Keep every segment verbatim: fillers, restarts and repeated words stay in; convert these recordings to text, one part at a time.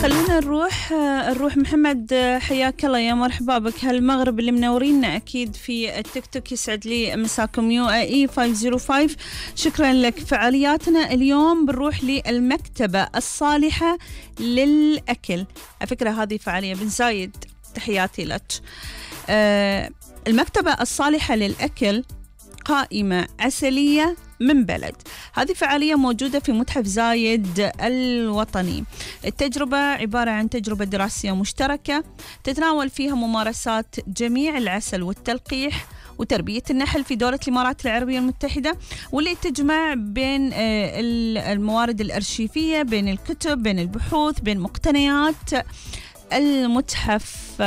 خلونا نروح نروح محمد، حياك الله، يا مرحبا بك. هالمغرب اللي منورينا أكيد في التيك توك، يسعد لي مساكم. يو اي خمسة صفر خمسة، شكرا لك. فعالياتنا اليوم بنروح للمكتبة الصالحة للأكل. على فكرة هذه فعالية بن زايد، تحياتي لك. آه المكتبة الصالحة للأكل قائمة عسلية من بلد. هذه فعالية موجودة في متحف زايد الوطني. التجربة عبارة عن تجربة دراسية مشتركة تتناول فيها ممارسات جميع العسل والتلقيح وتربية النحل في دولة الإمارات العربية المتحدة، واللي تجمع بين الموارد الأرشيفية، بين الكتب، بين البحوث، بين مقتنيات المتحف.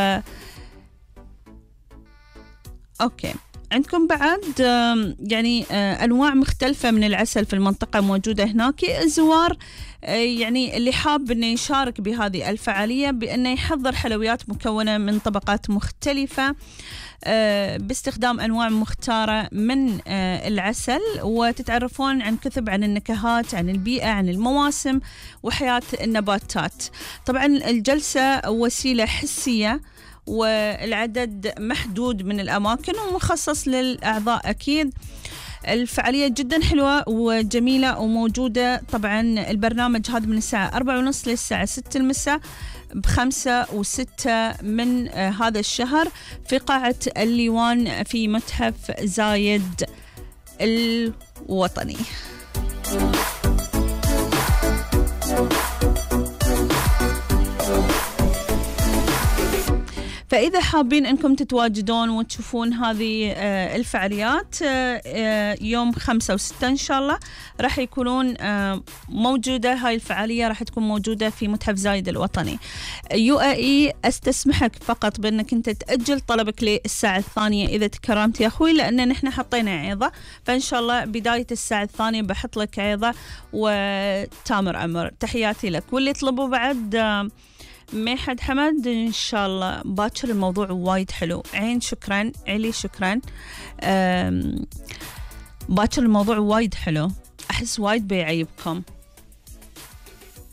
أوكي، عندكم بعد يعني أنواع مختلفة من العسل في المنطقة موجودة هناك. الزوار يعني اللي حاب أنه يشارك بهذه الفعالية بأنه يحضر حلويات مكونة من طبقات مختلفة باستخدام أنواع مختارة من العسل، وتتعرفون عن كثب عن النكهات، عن البيئة، عن المواسم وحياة النباتات. طبعا الجلسة وسيلة حسية والعدد محدود من الأماكن ومخصص للأعضاء. أكيد الفعالية جدا حلوة وجميلة وموجودة. طبعا البرنامج هذا من الساعة أربعة ونص للساعة ستة المساء بخمسة وستة من هذا الشهر في قاعة الليوان في متحف زايد الوطني. فإذا حابين أنكم تتواجدون وتشوفون هذه الفعاليات يوم خمسة وستة إن شاء الله راح يكونون موجودة. هاي الفعالية راح تكون موجودة في متحف زايد الوطني. يو اي استسمحك فقط بأنك أنت تأجل طلبك للساعة الثانية إذا تكرمت يا أخوي، لأن نحن حطينا عيضة، فإن شاء الله بداية الساعة الثانية بحط لك عيضة وتامر أمر. تحياتي لك. واللي يطلبوا بعد ميحد حمد إن شاء الله باكر، الموضوع وايد حلو. عين شكرا، علي شكرا. باكر الموضوع وايد حلو، أحس وايد بيعيبكم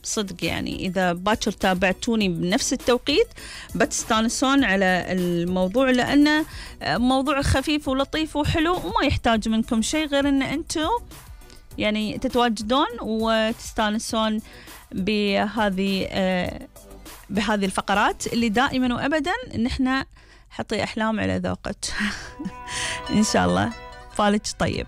صدق. يعني إذا باكر تابعتوني بنفس التوقيت بتستانسون على الموضوع، لأنه موضوع خفيف ولطيف وحلو وما يحتاج منكم شيء غير أن أنتم يعني تتواجدون وتستانسون بهذه بهذه الفقرات اللي دائما وأبدا نحن حطي أحلام على ذوقك. إن شاء الله فالك طيب.